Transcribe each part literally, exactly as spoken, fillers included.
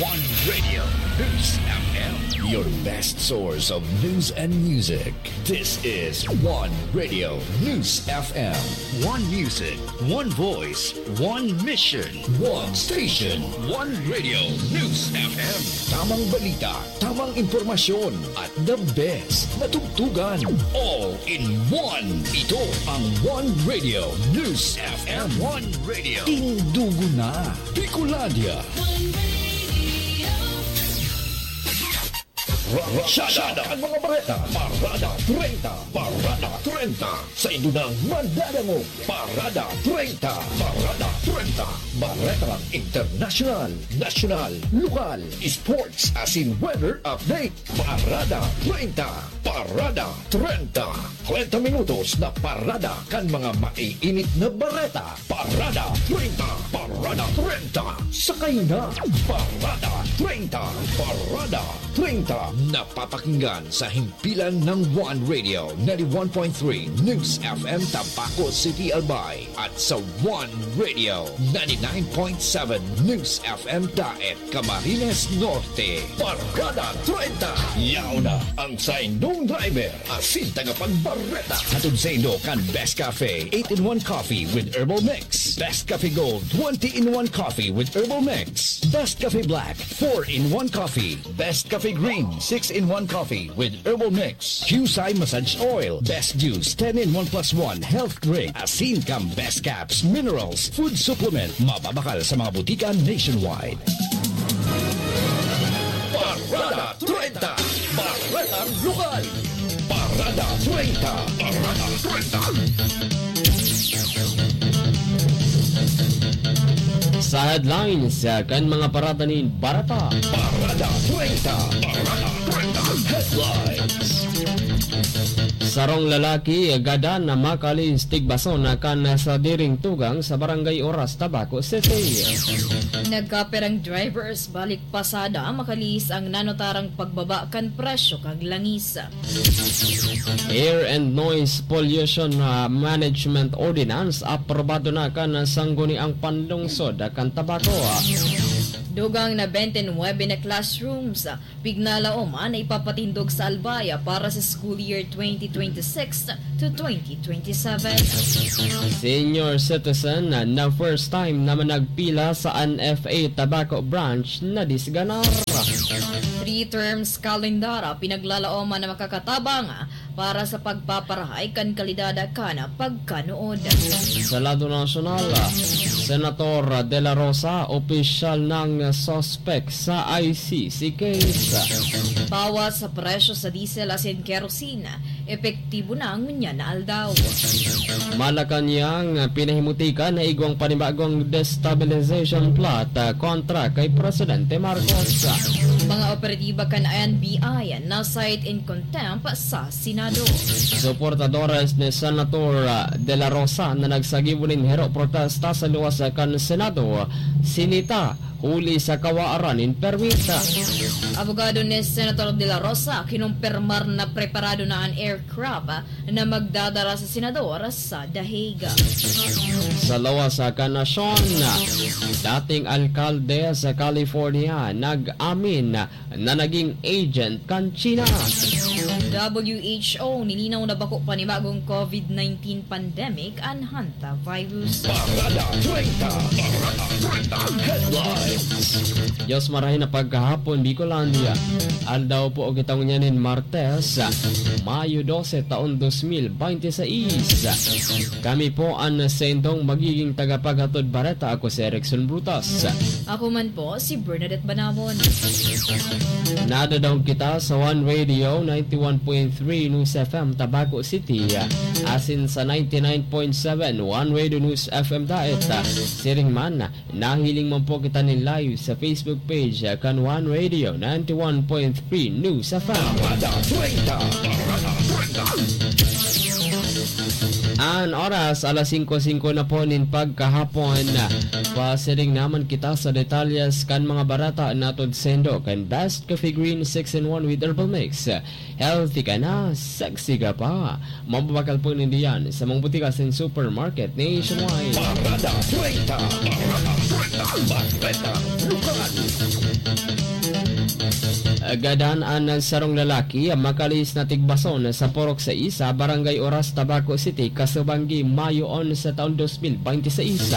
One Radio News F M, your best source of news and music. This is One Radio News F M. One music, one voice, one mission. One station, One Radio News F M. Tamang balita, tamang impormasyon, at the best na tugtugan. All in one. Ito ang One Radio News F M. One Radio. Tindugo na. Bicolandia. Ratsada ang mga bareta. Parada treinta. Parada treinta. Sa indo nang madadangog. Parada treinta. Parada treinta. Bareta lang internasyonal, nasyonal, lokal, sports, asin weather update. Parada treinta. Parada treinta. Treinta minutos na parada kan mga maiinit na bareta. Parada treinta. Parada treinta. Sakay na. Parada treinta. Parada treinta. Napapakinggan sa himpilan ng One Radio, ninety-one point three News F M Tabaco City, Albay, at sa One Radio, ninety-nine point seven News F M Daet, Camarines Norte. Parada treinta. Yaon na ang saindong driver asin tagapagbareta. Hatod saindo kan Best Cafe eight-in-one Coffee with Herbal Mix, Best Cafe Gold twenty-in-one Coffee with Herbal Mix, Best Cafe Black four-in-one Coffee, Best Cafe Green six-in-one Coffee with Herbal Mix, Qcye Massage Oil, Best Juice ten-in-one plus one Health Drink, asin kan Best Caps Minerals Food Supplement. Mababakal sa mga butika nationwide. Parada treinta. Baretang Lokal. Parada treinta. Parada treinta. Sa headlines, ah, kan mga parada nin bareta. Parada treinta. Parada treinta. Headlines. Sarong lalaki gadan na makalis tigbason na kan sadiring tugang sa Barangay Oras, Tabaco City. Nagkaperang drivers balik pasada makalihis ang nanotarang pagbaba kan presyo kan langis. Air and Noise Pollution, ah, Management Ordinance aprobado na kan Sangguniang Panlungsod kan Tabaco. Dugang na bente nuebe na classrooms pignalaoman na ipapatindog sa Albay para sa school year twenty twenty-six to twenty twenty-seven. Senior citizen na first time na managpila sa N F A Tabaco Branch na disganar. Three terms kalendar pinaglalaoman na makakatabang para sa pagpaparahay kan kalidad kan pagkanuod. Sa lado nasyonal, Senator De La Rosa, opisyal nang suspek sa I C C case. Bawas sa presyo sa diesel asin kerosene, epektibo na ngunyan na aldaw. Malacañang, pinahimutikan na igwang panibagong destabilization plot, ah, kontra kay Presidente Marcos. Mga operatiba kan N B I na cite in contempt sa Senado. Suportadores ni Senator, ah, De La Rosa na nagsagibo nin hero protesta sa luwas kan Senado, sinita huli sa kawaaran nin permit. Abogado ni Senator De La Rosa kinumpirmar na preparado na an aircraft na magdadara sa senador sa The Hague. Sa lawas kan nasyon, dating alkalde sa California nag-amin na naging agent kan China. W H O nilinaw na bako panibagong COVID nineteen pandemic an hantavirus. Parada treinta. Parada treinta. Headlines. Diyos marahay na pagkahapon, Bicolandia. Aldaw po kita ngunyan nin Martes, Mayo dose, taon dos mil bente seis. Kami po an saindong magiging tagapaghatod bareta. Ako si Erickson Brutas. Ako man po si Bernadette Banabon. Nadadaog kita sa One Radio ninety-one point three News F M Tabaco City, asin sa ninety-nine point seven One Radio News F M Daet. Siring man, nahiling man po kita nin live sa Facebook page kan One Radio ninety-one point three News F M. Parada treinta. Parada treinta. An oras, alas singko singko na po nin pagkahapon. Pasiring naman kita sa detalyes kan mga bareta na tudsindo kan Best Coffee Green six in one with Herbal Mix. Healthy ka na, sexy ka pa. Mababakal po nindiyan sa mga butika sa supermarket nationwide. Parada treinta. Parada treinta. Bareta. Lokal. Gadan an sarong lalaki, makalihis na tigbason sa Purok Sais, Barangay Oras, Tabaco City, kasubanggi, Mayo onse taon dos mil bente seis.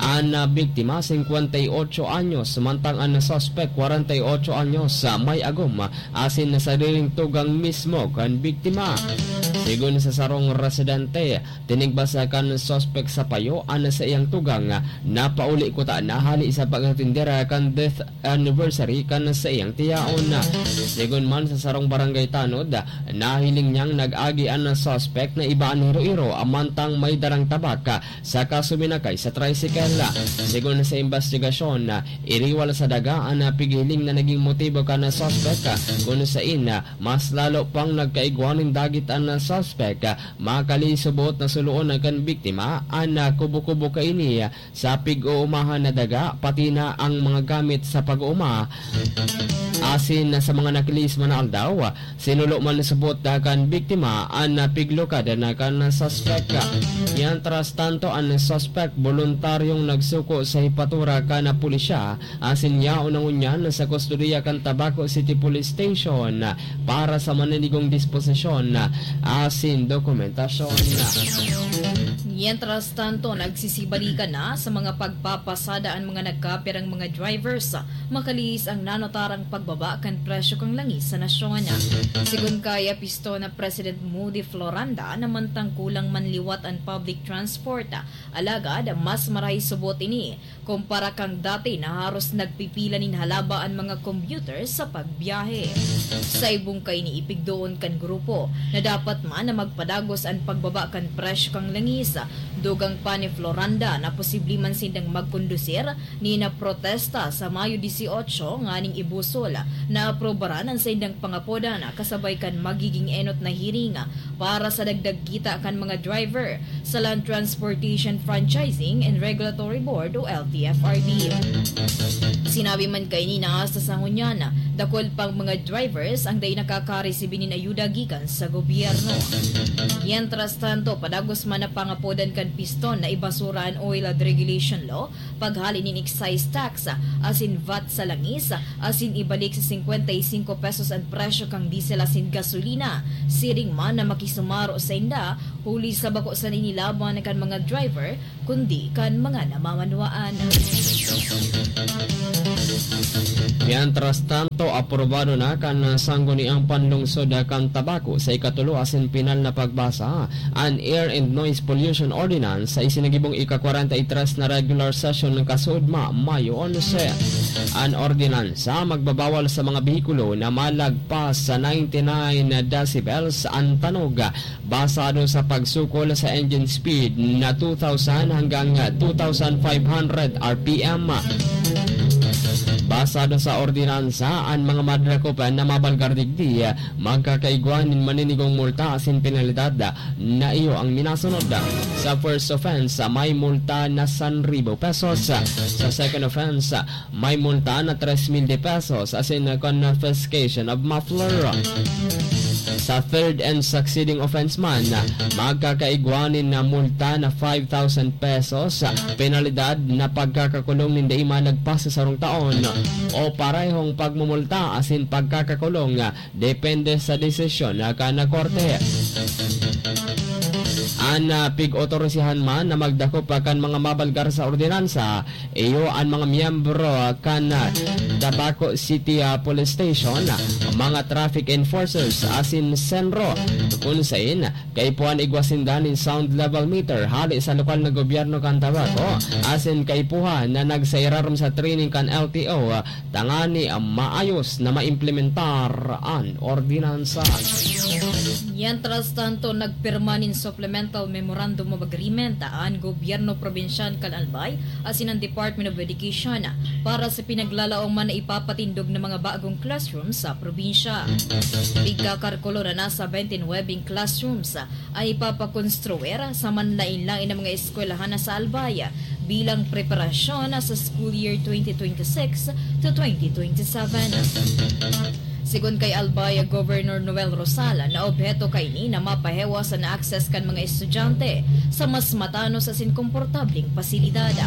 An biktima, singkwenta y otso anyos, mantang an suspek, kwarenta y otso anyos, may agom, asin sariling tugang mismo kan biktima. Sigon sa sarong residente, tinigbas kan suspek sa payo an saiyang tugang na pauli kutana hali sa pag-atender kan death anniversary kan saiyang tiyaon. Sigon man sa sarong barangay tanod, nahiling niyang nag-agi an suspek na iba an hiro-iro, mantang may darang tabak saka suminakay sa tricycle. Sigon sa imbestigasyon, iriwal sa daga an pighiling na naging motibo kan suspek, kun sain mas lalo pang nagkaigwa nin dagit an suspek. Makalisubot na suloon kan biktima an kubo-kubo kaini sa pig-uumahan na daga, pati na ang mga gamit sa pag-uuma. Asin sa mga nakalihis man na aldaw, sinulo man subot kan biktima an piglukad na kan suspek. Mientras tanto, an suspek boluntaryong nagsuko sa hipatura kan pulisya, asin yaon na ngunyan sa kustodiya kan Tabaco City Police Station para sa maninigong disposisyon asin dokumentasyon. Mientras tanto, nagsisibalikan na sa mga pagpapasada an mga nagkapirang mga drivers, makalihis ang nanotarang pagbaba kan presyo kan langis sa nasyon. Sigon kay Apiston na President Moody Floranda, namantang kulang man liwat an public transport, alagad mas marahay subot ini kumpara kan dati na haros nagpipila nin halaba an mga commuter sa pagbiyahe. Sa ibong kaini, ipigdoon kan grupo na dapat man na magpadagos an pagbaba kan presyo kan langis. Dugang pa ni Floranda na posible man sindang magkondusir nin protesta sa Mayo dieciocho nganing ibusol na aprobaran an saindang pangapodan kasabay kan magiging enot na hearing para sa dagdag kita kan mga driver sa Land Transportation Franchising and Regulatory Board o L T F R B. Sinabi man kaini na hasta sa ngunyan, dakul pang mga drivers ang dai nakakaresibi nin ayuda gikan sa gobyerno. Mientras tanto, padagos man na pangapodan kan Piston na ibasura an Oil and Regulation Law, paghali nin excise tax asin vat sa langis, asin ibalik sa singkwenta y singko pesos an presyo kan diesel asin gasolina. Siring man na makisumaro sainda, huli sa bako sana ini laban kan mga driver, kundi kan mga namamanwaan. Mientras tanto, aprobado na kan Sangguniang Panlungsod kan Tabaco sa ikatulo asin pinal na pagbasa an Air and Noise Pollution Ordinance sa isinagibong ika-kwarenta y tres na regular session ng kasuodma, Mayo onse. An ordinansa magbabawal sa mga behikulo na malagpas sa ninety-nine decibels an tanog, basado sa pagsukol sa engine speed na two thousand hanggang two thousand five hundred R P M. Basado sa ordinansa, an mga madrakop na mabalgar digdi magkakaigwa nin maninigong multa asin penalidad na iyo ang minasunod. Sa first offense, may multa na san ribo pesos. Sa second offense, may multa na tres mil de pesos asin confiscation of muffler. Sa third and succeeding offense man, magkakaigwa nin na multa na five thousand pesos, penalidad na pagkakakulong nin dai malagpas sa sarong taon, o parehong pagmumulta asin pagkakakulong, depende sa desisyon kan korte. An, ah, pig-otorisihan man na magdakop kan mga mabalgar sa ordinansa, iyo an mga miyembro kan, ah, Tabaco City, ah, Police Station, mga traffic enforcers asin senro, kun sain kaipuhan igwa sinda nin sound level meter hali sa lokal na gobyerno kan Tabaco, asin kaipuhan na nagsairarom sa training kan L T O, tangani maayos na maimplementar an ordinansa. Mientras tanto, nagpirma nin suplemento Memorandum of Agreement an gobyerno probinsyal kan Albay asin an Department of Education para sa pinaglalaoman na ipapatindog na mga bagong classroom sa probinsya. Pigkakalkulo na nasa twenty-nine classrooms an ipapakonstruir sa manlaen-laen na mga eskwelahan na sa Albay bilang preparasyon sa school year twenty twenty-six to twenty twenty-seven. Sigon kay Albay Governor Noel Rosal, naobheto kaini na mapahiwas an access kan mga estudyante sa mas matanos asin komportableng pasilidad.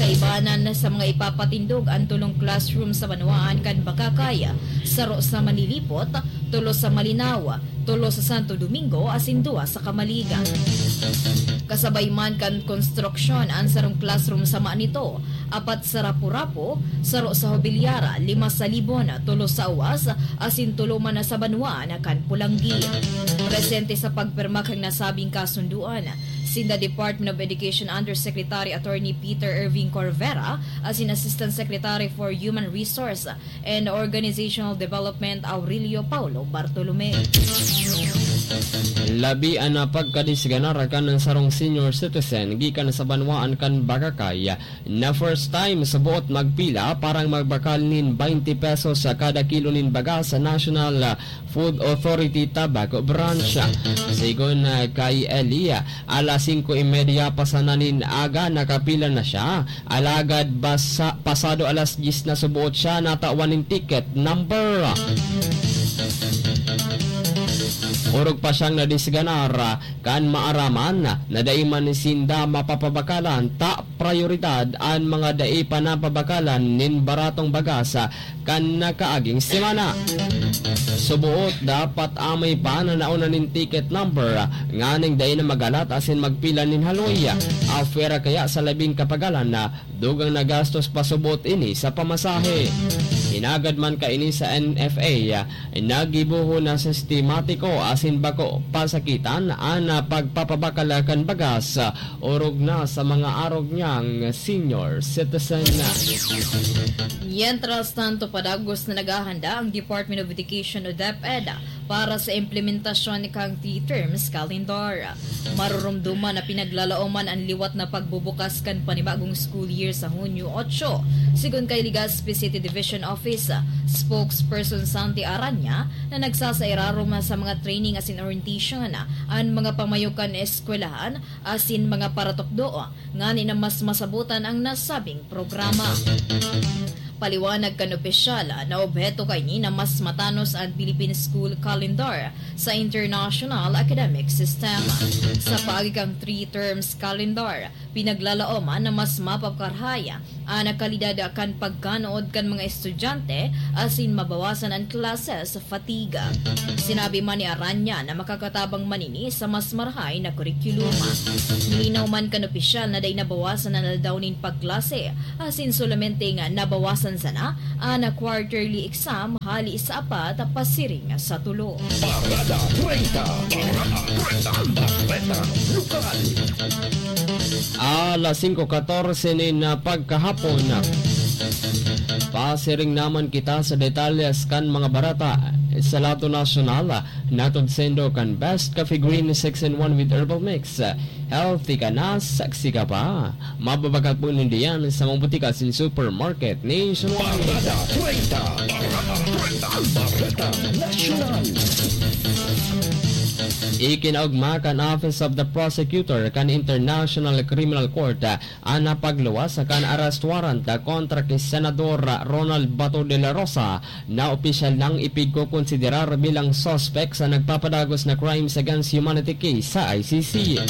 Kaibanan sa mga ipapatindog, an tolong classroom sa banwaan kan Bacacay, saro sa Manilipot, tolo sa Malinao, tolo sa Santo Domingo asin duwa sa Camalig. Kasabay man kan konstruksyon an sarong classroom sa Manito, apat sa Rapu-Rapu, saro sa Hobilyara, lima sa Libon, tolo sa Awas, asin tolo man na sa banwaan kan Polangui. Presente sa pagpirma kan nasabing kasunduan, sinda Department of Education Undersecretary Attorney Peter Irving Corvera asin Assistant Secretary for Human Resource and Organizational Development Aurelio Paulo Bartolome. Labi an pagkadisganar kan sarong senior citizen gikan sa banwaan kan Bacacay na first time sa buot magpila para magbakal nin twenty pesos sa kada kilo nin baga sa National Food Authority Tabaco Branch. Sigon, ah, kay Eli, alas singko y media pa sana nin aga nakapila na siya. Alagad basa, pasado alas dyes na suboot siya natawan nin ticket number. Orog pa siyang nadisganar kan maaraman na dai man sinda mapapabakalan ta prayoridad an mga dai pa napabakalan nin baratong bagas kan nakaaging semana. Suboot dapat amay pa na nauna nin ticket number nganing dai na magalat asin magpila nin haloy. Apwera kaya sa labing kapagalan na dugang na gastos pa suboot ini sa pamasahe. Hinagad man kaini sa N F A, naggibohon na sistematiko asin bako pasakitan an pagpapabakal kan bagas, orog na sa mga arog niyang senior citizen. Mientras tanto, padagos na naghahanda ang Department of Education o DepEd para sa implementasyon kan three terms calendar. Maroromdoman na pinaglalaoman an liwat na pagbubukas kan panibagong school year sa Hunyo otso. Sigon kay Legazpi City Division Office Spokesperson Santi Aranya, na nagsasairarom sa mga training asin orientation an mga pamayo kan eskwelahan asin mga paratukdo ngani na mas masabotan ang nasabing programa. Paliwanag kan opisyal, naobheto kaini na mas matanos an Philippine School Calendar sa international academic system. Sa paagi kan three terms calendar, pinaglalaoman na mas mapapakarahay an kalidad kan pagkanood kan mga estudyante asin mabawasan an classes fatigue. Sinabi man ni Aranya na makakatabang man ini sa mas marahay na kurikulum. Nilinaw man kan opisyal na dai nabawasan an aldaw nin pagklase, asin solamente nga nabawasan sana an quarterly exam hali sa apat pasiring sa tulo. Parada treinta. Parada treinta. Bareta Lokal. Alas singko katorse nin pagkahapon. Pasiring naman kita sa detalles kan mga bareta sa lado nasyonal. Hatod saindo kan Best Coffee Green six in one with Herbal Mix. Healthy ka na, sexy ka pa. Mababakal po ninda yan sa mga butika asin supermarket nationwide. Parada treinta. Parada treinta. Bareta Nasyonal. Ikinaogma kan Office of the Prosecutor kan International Criminal Court an pagluwas kan arrest warrant kontra ki Senador Ronald Bato de la Rosa na opisyal nang ipigkokonsiderar bilang suspek sa nagpapadagos na crimes against humanity case sa I C C.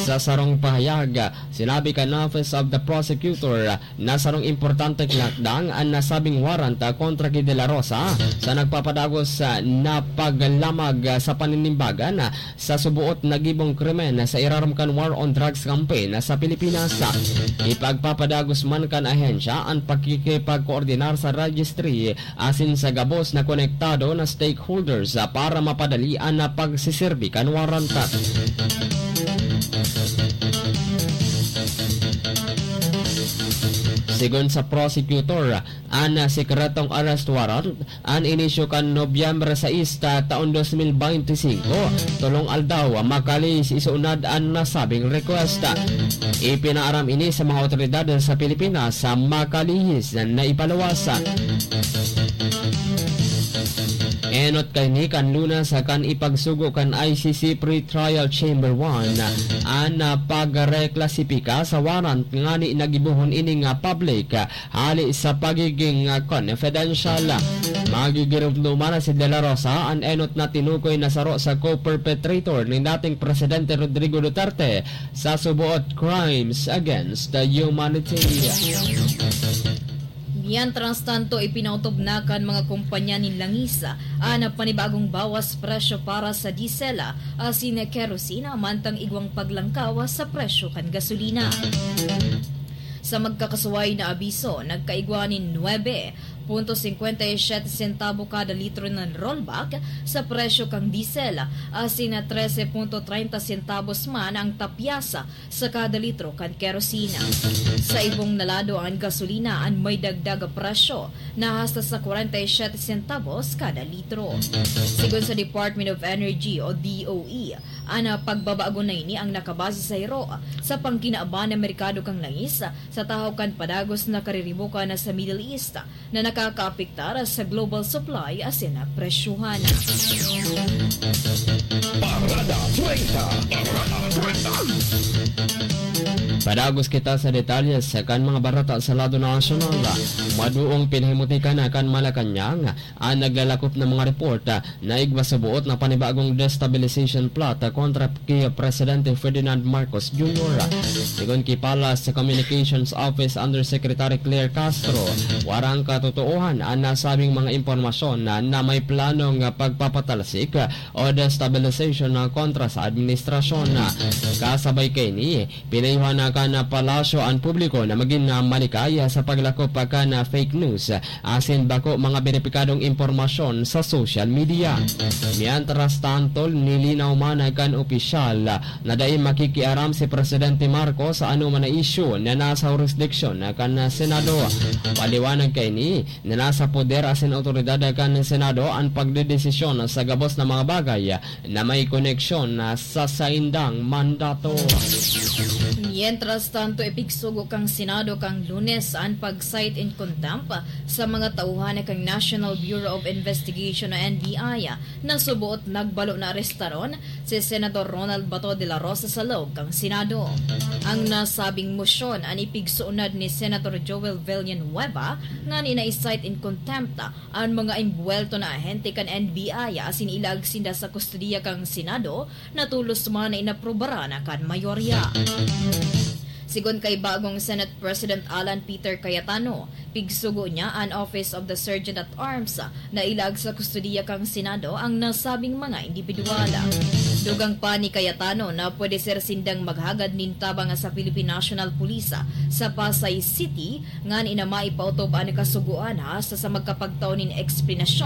Sa sarong pahayag, sinabi kan Office of the Prosecutor na sarong importanteng lakdang an nasabing warrant kontra ki De La Rosa sa nagpapadagos na paglamag sa paninimbagan sa suboot na gibong krimen sa irarom kan war on drugs campaign sa Pilipinas. Ipagpapadagos man kan ahensya an pakikipagkoordinar sa registry asin sa gabos na konektado na stakeholders para mapadali an pagseserbi kan warrant. Sigon sa prosecutor, an sikretong arrest warrant an inisyu kan Nobyembre sais ta taon dos mil beinti singko, tolong aldaw makalihis isunad an nasabing request. Ipinaaram ini sa mga awtoridad sa Pilipinas sa makalihis na ipaluwas. Enot kaini kan Lunes kan ipagsugo kan I C C Pretrial Chamber one an pagreklasipika sa warrant ngani nagibohon ini nga public hali sa pagiging confidential. Magigiromdoman na si De La Rosa an enot na tinukoy na saro sa co-perpetrator ni dating Presidente Rodrigo Duterte sa suboot crimes against the humanity. Mientras tanto, ipinautob na kan mga kompanya nin langis an panibagong bawas presyo para sa diesel asin kerosene, mantang igwang paglangkaw sa presyo kan gasolina. Sa magkakasuway na abiso, nagkaigwa nin nuebe punto singkwenta y siyete sentabo kada litro na rollback sa presyo kan diesel, asin na trese punto treinta centavos man ang tapyas sa kada litro kan kerosene. Sa ibong na lado, an gasolina an may dagdag presyo na hasta sa kwarenta y siyete centavos kada litro. Sigon sa Department of Energy o D O E, an pagbabago na ini ang nakabase sa hiro sa pangkinaban na merkado kan langis sa tahaw kan padagos na kariribokan na sa Middle East na nakakaapektar sa global supply asin presyohan. Parada treinta. Parada treinta. Padagos kita sa detalye sa kan mga barata sa lado nasyonal. Maduong pinahimutika na kan Malacañang an naglalakop na mga report na igwa sa buot na panibagong destabilization plot kontra ki Presidente Ferdinand Marcos Junior. Sigon ki Palace Communications Office Undersecretary Claire Castro, warang katotoohan an nasabing mga impormasyon na, na may planong pagpapatalsik o destabilization na kontra sa administrasyon. Kasabay kaini, pinayuhan na kan palasyo an publiko na magin malikay sa paglakop kan fake news asin bako mga beripikadong impormasyon sa social media. Mientras tanto, nilinaw man kan opisyal na dai makikiaram si Presidente Marcos sa anoman na isyu na nasa hurisdiksyon kan Senado. Paliwanag kaini na nasa poder asin awtoridad kan Senado an pagdedesisyon sa gabos na mga bagay na may koneksyon sa saindang mandato. Mientras tanto, ipigsugo kan Senado kan Lunes an pag-cite in contempt sa mga tauhan kan National Bureau of Investigation o N B I na suboot nagbalo na arestaron si Senador Ronald Bato de la Rosa sa loob kan Senado. Ang nasabing mosyon an ipigsuunad ni Senator Joel Villanueva ngani na i-cite in contempt an mga imbuwelto na ahente kan N B I asin ilaag sinda sa kustodiya kan Senado na tolos man na inaprobaran na kan mayorya. Sigon kay bagong Senate President Alan Peter Cayetano, pigsugo niya an Office of the Sergeant at Arms na ilaag sa kustodiya kan Senado ang nasabing mga indibidwal. Dugang pa ni Cayetano na pwede ser sindang maghagad nin tabang sa Philippine National Police sa Pasay City ngani na maipaotob an kasugoan hasta sa magkapagtao nin eksplanasyon